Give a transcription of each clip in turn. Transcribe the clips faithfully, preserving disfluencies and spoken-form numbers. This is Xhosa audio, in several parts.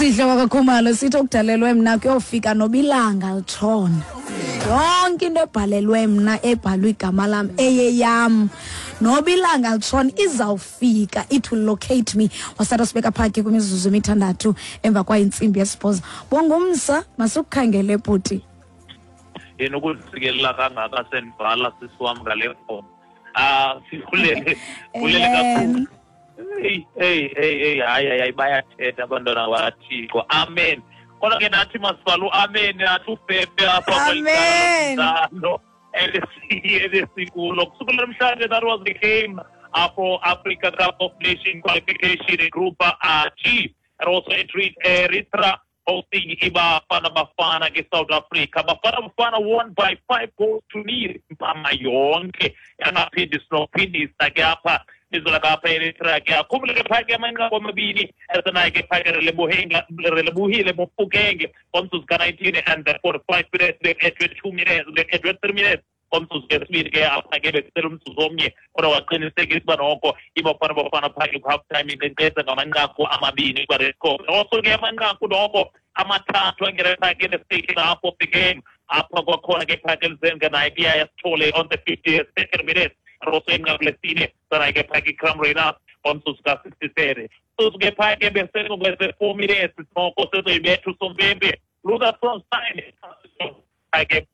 Usihle wakaKhumalo sithi okudalelwe mna kuyofika nobilanga litshona. Yonke into ebhalelwe mna ebhalwe igama lam eyeyam nobilanga litshona izawufika, it will locate me. Wasatha sibeka phaki kwimizuzu emithandathu emva kwayintsimbi yesibhozo. Bongumsa, masukukhangele bhuti. Yena ukuzisikelela kangaka sendivala sisi wam ngale ngoma. Ah, sibulele, bulele kakhulu. Hey, hey, hey, hey, hayi, hayi, bayathetha abantwana bakaThixo. Amen. Kodwa ke nathi masibhale u-amen, nathi ufefe apha kweli Amen. cala elesikulo. Kusukela namhlanje, that was the game for Africa Cup of Nations qualification in Group G. And also Eritrea hosting iBafana Bafana ke South Africa. Bafana Bafana won by five goals to nil. Mpama yonke yangaphindi sinophindisa ke apha izolo apha Eritrea ke akhumbule ke phaya ke amanqaku amabini esenayo ke phaya ke Relebohile Mofokeng ngomzuzu ka-nineteen and the forty-five minutes, be-edwe two minutes, be-edwe three minutes ngomzuzu kesibini ke apha ke bekusele umzuzu omnye, kodwa waqinisekisa uba noko iBafana Bafana phaya ke ku-half time inkcenkceza ngamanqaku amabini kwaRedco. Also ke amanqaku noko amathathu angene phaya ke the second half of the game apha kwakhona ke phaya ke Lizenga naye ke yayasithole on the fifty-second minute, and also inqaku lesine sanaye ke phaya ke Iqraam Rayners ngomzuzu ka-sixty-three. Mzuzu ke phaya ke besele four minutes noko sezoyibetha usompempe Lucas Stein ke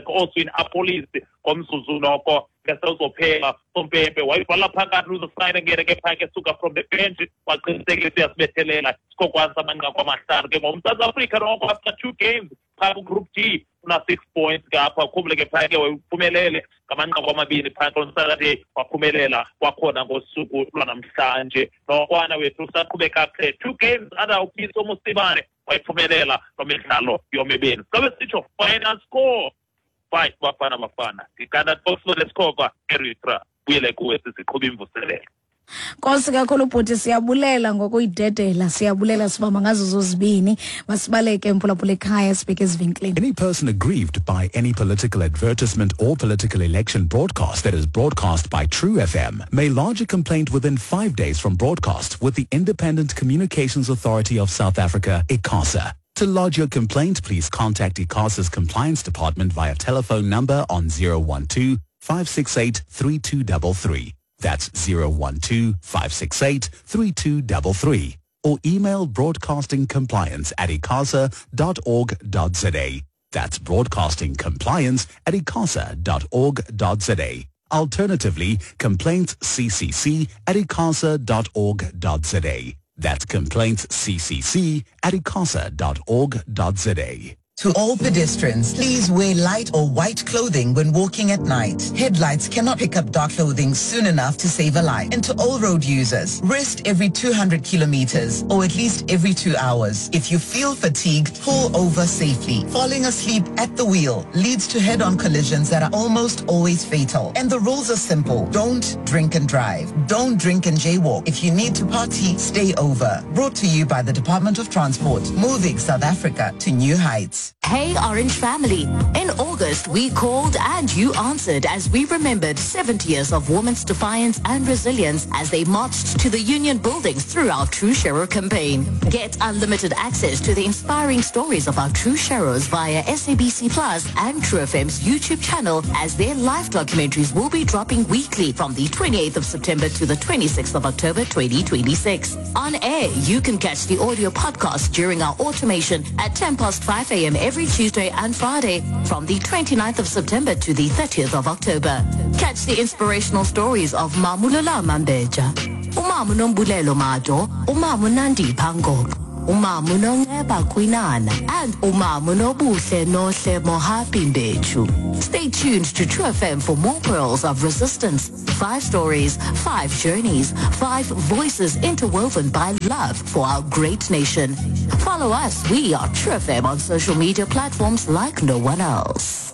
also in Apolis ngomzuzu noko ngesewuzophela sompempe wayivala phakathi Lucas Stein ngene ke phaya ke suka from the bench waqinisekisa uyasibethelela sikokwanisa amanqaku amahlanu ke ngoMzantsi Afrika noko after two games phaya ku-Group D una six points ke apha. Khumbule ke phaya ke wayephumelele ngamanqaku amabini phaya on Saturday, waphumelela kwakhona ngosuku lwanamhlanje. Nokwana wethu usaqhube kakuhle two games under uPitso Mosimane wayiphumelela lo midlalo yomibini. Sabe sitsho final score five Bafana Bafana ikanda Oxford Eritrea. Buyele kuwe sisiqhuba imvuselelo. Nkosi kakhulu bhuti, siyabulela ngokuyidedela, siyabulela sibamba ngazo zozibini. Masibaleke mphulaphula ekhaya sibheke ezivenkileni. Any person aggrieved by any political advertisement or political election broadcast that is broadcast by True F M may lodge a complaint within five days from broadcast with the Independent Communications Authority of South Africa, ICASA. To lodge your complaint, please contact ICASA's Compliance Department via telephone number on zero one two, five six eight, three two three three. That's zero one two, five six eight, three two three three. Or email broadcastingcompliance at icasa dot org dot za. That's broadcastingcompliance at icasa dot org dot za. Alternatively, complaintsccc at icasa dot org dot za. That's complaintsccc at icasa dot org dot za. To all pedestrians, please wear light or white clothing when walking at night. Headlights cannot pick up dark clothing soon enough to save a life. And to all road users, rest every two hundred kilometers or at least every two hours. If you feel fatigued, pull over safely. Falling asleep at the wheel leads to head-on collisions that are almost always fatal. And the rules are simple. Don't drink and drive. Don't drink and jaywalk. If you need to party, stay over. Brought to you by the Department of Transport, moving South Africa to new heights. Hey Orange family, in August we called and you answered as we remembered seventy years of women's defiance and resilience as they marched to the union buildings through our True Sharer campaign. Get unlimited access to the inspiring stories of our True Sharers via S A B C Plus and True F M's YouTube channel, as their live documentaries will be dropping weekly from the twenty-eighth of September to the twenty-sixth of October twenty twenty-six. On air, you can catch the audio podcast during our automation at ten past five a m every Tuesday and Friday from the twenty-ninth of September to the thirtieth of October. Catch the inspirational stories of Mamulula Mambeja, Umamu Nombulelo Mado, Umamu Nandi Pango, Umamu Nongeba Kwinana, and Umamu Nobuhle Nohle Mohapi Mbechu. Stay tuned to True F M for more pearls of resistance. Five stories, five journeys, five voices interwoven by love for our great nation. Follow us. We are True F M on social media platforms like no one else.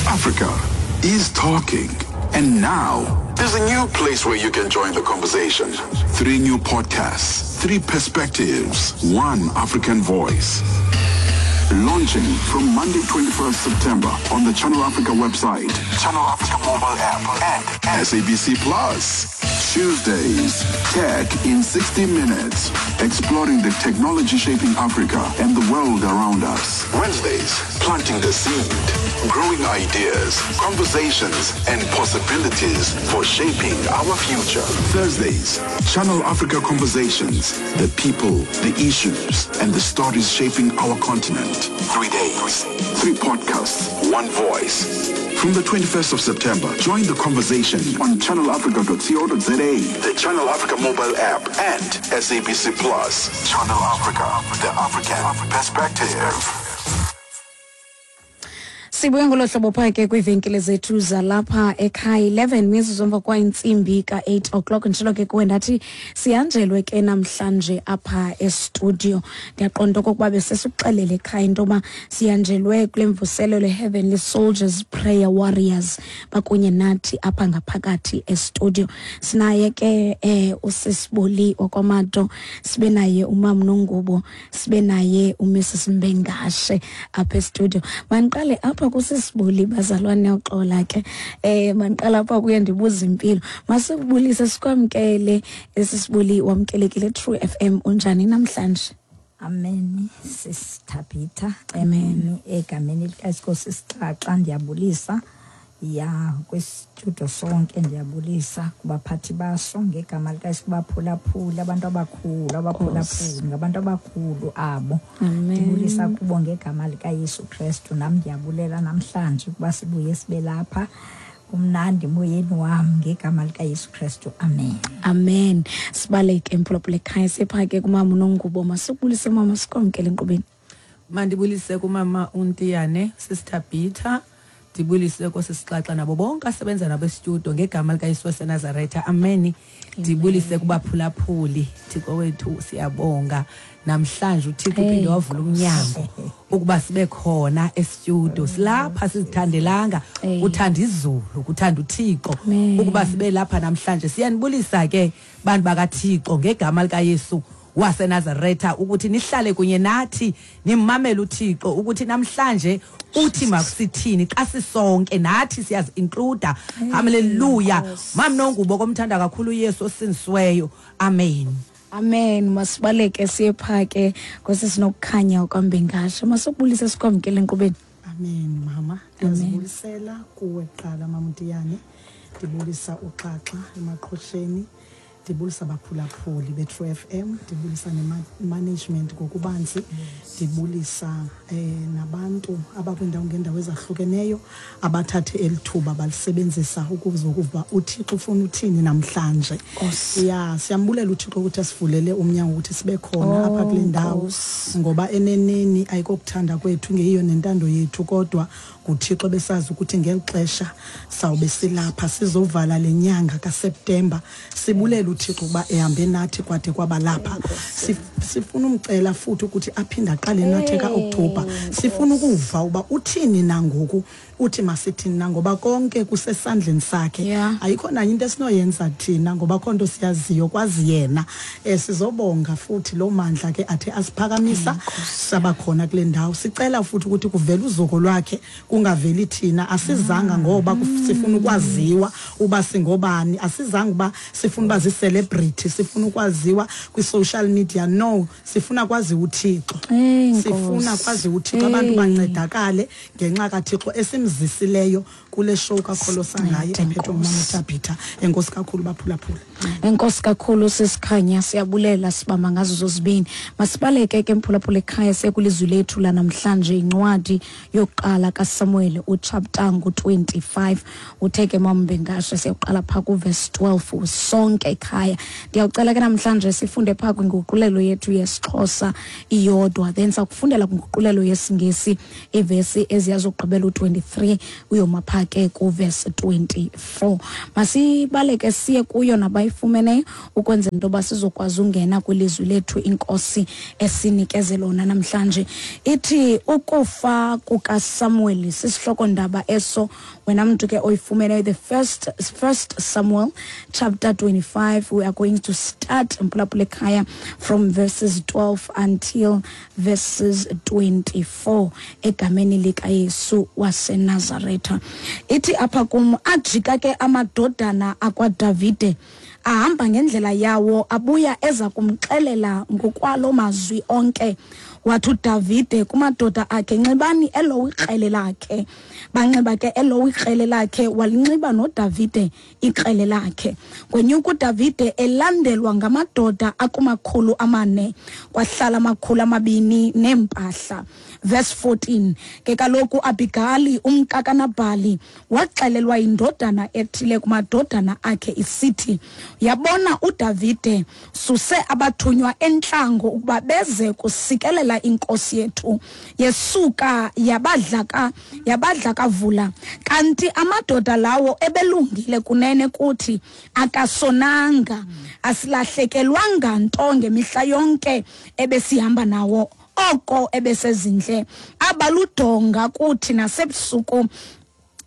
Africa is talking. And now, there's a new place where you can join the conversation. Three new podcasts, three perspectives, one African voice. Launching from Monday twenty-first September on the Channel Africa website, Channel Africa mobile app, and S A B C Plus. Tuesdays, Tech in sixty minutes, exploring the technology shaping Africa and the world around us. Wednesdays, planting the seed, growing ideas, conversations, and possibilities for shaping our future. Thursdays, Channel Africa Conversations, the people, the issues, and the stories shaping our continent. Three days, three podcasts, one voice. From the twenty-first of September, join the conversation on channel africa dot co dot za, the Channel Africa mobile app, and S A B C Plus. Channel Africa, the African perspective. Sibuye ngolo hlobo phaa ke kwiivenkile zethu zalapha ekhaya, eleven mizuzu emva kwentsimbi ka-eight o'clock. Nditshilo ke kuwe ndathi sihanjelwe ke namhlanje apha estudio. Ndiyaqonda okokuba besesikuxelele ekhaya into yoba sihanjelwe kule mvuselelo Heavenly Soldiers Prayer Warriors bakunye nathi apha ngaphakathi estudio. Sinaye ke eh, uSisiboli wakwaMato, sibe naye uMam Nongubo, sibe naye uMrs Mbengashe apha estudio. Mandiqale apha kusisibuli bazalwane uxola ke eh mandiqala apha kuye ndibuza impilo. Masibulise sikwamkele esisibuli, wamkelekile True F M. Unjani namhlanje? Amen Sisithabitha. Amen. Egameni likaSinkosi Sixaxa ndiyabulisa ya kwistudio sonke, ndiyabulisa kubaphathi baso ngegama likaYesu, kubaphulaphula abantu abakhulu, abaphulaphuli ngabantu abakhulu abo. Ndibulisa kubo ngegama likaYesu Kristu. Nam ndiyabulela namhlanje ukuba sibuye sibe lapha. Kumnandi moyeni wam ngegama likaYesu Kristu. Amen. Amen. Sibaleke mphulaphula ekhaya siphake kumama uNongubo. Masibulise mama, sikwamkele enkqubeni. Mandibulise kumama uNtiyane, Sister Peter, ndibulise kosisixaxa nabo bonke asebenza nabo estudio ngegama likaYesu waseNazaretha. Amen. Ndibulise kubaphulaphuli. Thixo wethu siyabonga namhlanje uThixo uphinde wavula umnyango ukuba sibe khona estudio. Silapha sizithandelanga, uthanda izulu, kuthanda uThixo ukuba sibe lapha namhlanje. Siyanibulisa ke bantu bakaThixo ngegama likaYesu waseNazaretha ukuthi nihlale kunye nathi nimamele uThixo ukuthi namhlanje uthi makusithini xa sisonke nathi siyazi include. Hallelujah. Mam Nongubo komthanda kakhulu uYesu osindisiweyo. Amen. Amen. Masibaleke siye phake kwesisinokukhanya kwaMbengashe. Masibulise sikwamkele enkqubeni. Amen mama. Ndiyazibulisela kuwe kuqala mama Ntiyane. Ndibulisa uXaxa emaqhosheni. Ndibulisa abaphulaphuli be-True F M, ndibulisa ne-management ngokubanzi, ndibulisa eh, nabantu abakwindawo ngendawo ezahlukeneyo abathathe elithuba balisebenzisa ukuzokuva uThixo ufuna uthini namhlanje. Ya, siyambulela uThixo ukuthi asivulele umnyango ukuthi sibe khona apha kule ndawo, ngoba eneneni ayikokuthanda kwethu ngeyiyo nentando yethu, kodwa nguThixo besazi ukuthi ngeli xesha sawube silapha sizovala lenyanga kaSeptember. Sibulela uThixo kuba ehambe nathi kwade kwabalapha. Sifuna umcela futhi ukuthi aphinde aqale nathi kaOctober. Sifuna ukuva uba uthini nangoku, uthi masithini na, ngoba konke kusesandleni sakhe. Ayikho nanye into esinoyenza thina ngoba khonto siyaziyo kwazi yena. Eh sizobonga futhi lo mandla ke athe asiphakamisa sabakhona kule ndawo. Sicela futhi ukuthi kuvele uzuko lwakhe kungaveli thina. Asizanga ngoba sifuna ukwaziwa uba singobani, asizanga uba sifuna uba zi-celebrity, sifuna ukwaziwa kwi-social media. No, sifuna kwazi uThixo. Sifuna kwazi uThixo, abantu bancedakale ngenxa kaThixo esimzisileyo kule show kaKholosa ngaye ephethwe ngumama Tabitha. Enkosi kakhulu baphulaphula. Enkosi kakhulu sisikhanya, siyabulela sibamba ngazo zozibini. Masibaleke ke mphulaphula ekhaya sekulizwi lethu la namhlanje, incwadi yokuqala kaSamuel uchapter ngu twenty-five. Uthe ke Mambengashe siyaqala pha ku verse twelve sonke ekhaya. Ndiyacela ke namhlanje sifunde pha kwinguqulelo yethu yesiXhosa iyodwa, then sakufundela kwinguqulelo yesiNgesi ivesi eziyazogqibela u twenty-three uyoma pha ke ku verse twenty-four. Masibaleke siye kuyo nabayifumeneyo ukwenzela into yoba sizokwazi ungena kwilizwi lethu inkosi esinikeze lona namhlanje. Ithi ukufa kukaSamuel sisihloko ndaba eso. Wena mntu ke oyifumeneyo, the first first Samuel chapter twenty-five, we are going to start mphulaphula ekhaya from verses twelve until verses twenty-four egameni likaYesu waseNazaretha. Ithi apha kum, ajika ke amadodana akwaDavide Ahamba ngendlela yawo, abuya eza kumxelela ngokwalo mazwi onke. Wathi uDavide kumadoda akhe, nxibani elo ikrele lakhe. Banxiba ke elo ikrele lakhe, walinxiba noDavide ikrele lakhe. Kwenyuka uDavide elandelwa ngamadoda akumakhulu amane, kwahlala amakhulu amabini neempahla. Verse fourteen, ke kaloku Abigali umkaKanabhali waxelelwa indodana ethile kumadodana akhe isithi, yabona uDavide suse abathunywa entlango ukuba beze kusikelela inkosi yethu. Yesuka yabadlaka yabadlakavula, kanti amadoda lawo ebelungile kunene kuthi, akasonanga, asilahlekelwanga nto ngemihla yonke ebesihamba nawo, oko ebesezindle abaludonga kuthi nasebusuku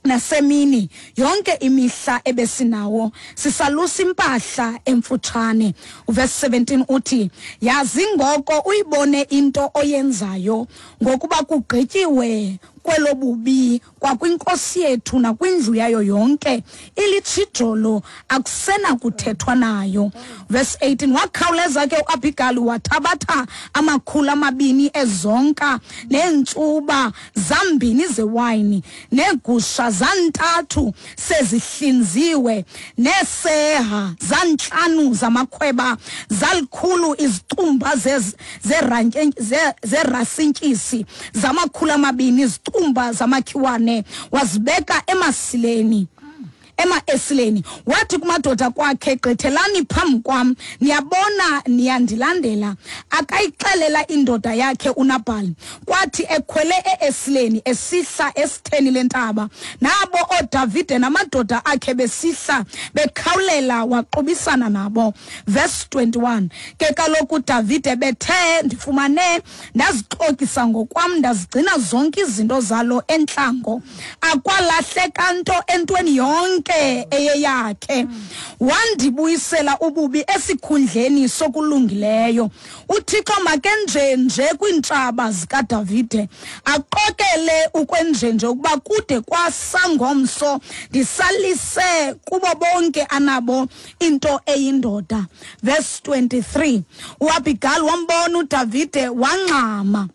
nasemini yonke imihla ebesinawo, sisalusa impahla emfutshane. Verse seventeen uthi, yazi ngoko uyibone into oyenzayo, ngokuba kugqityiwe kwelobubi kwakwinkosi yethu nakwindlu yayo yonke, ilitshijolo akusena kuthethwa nayo. Verse eighteen, wakhawuleza ke uAbigali wathabatha amakhulu amabini ezonka neentsuba zambini zewayini neegusha zantathu sezihlinziwe neeseha zantlanu zamakhweba zalikhulu izicumba zerasintyisi zamakhulu amabini izicumba zamakhiwane, wazibeka emasileni ema-esileni. Wathi kumadoda kwakhe, gqithelani phambi kwam, niyabona niyandilandela. Akayixelela indoda yakhe uNabhali. Kwathi ekhwele e-esileni esihla esitheni lentaba, nabo oDavide namadoda akhe besihla bekhawulela, waqubisana nabo. Verse twenty-one, ke kaloku uDavide bethe, ndifumane ndazixokisa ngokwam, ndazigcina zonke izinto zalo entlango, akwalahleka nto entweni yonke eyeyakhe. Wandibuyisela ububi esikhundleni sokulungileyo. UThixo makenjenje kwiintshaba zikaDavide, aqokele ukwenjenje ukuba kude kwasangomso ndisalise kubo bonke anabo into eyindoda. Verse twenty-three, uAbigali wambona uDavide wangxama,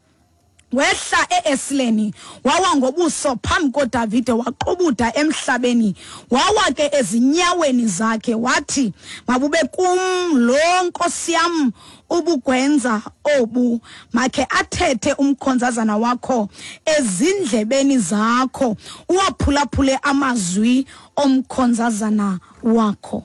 wehla e-esileni, wawa ngobuso phambi koDavide, waqubuda emhlabeni, wawa ke ezinyaweni zakhe, wathi, mabube kum lo nkosi yam ubugwenza obu, makhe athethe umkhonzazana wakho ezindlebeni zakho, uwaphulaphule amazwi omkhonzazana wakho.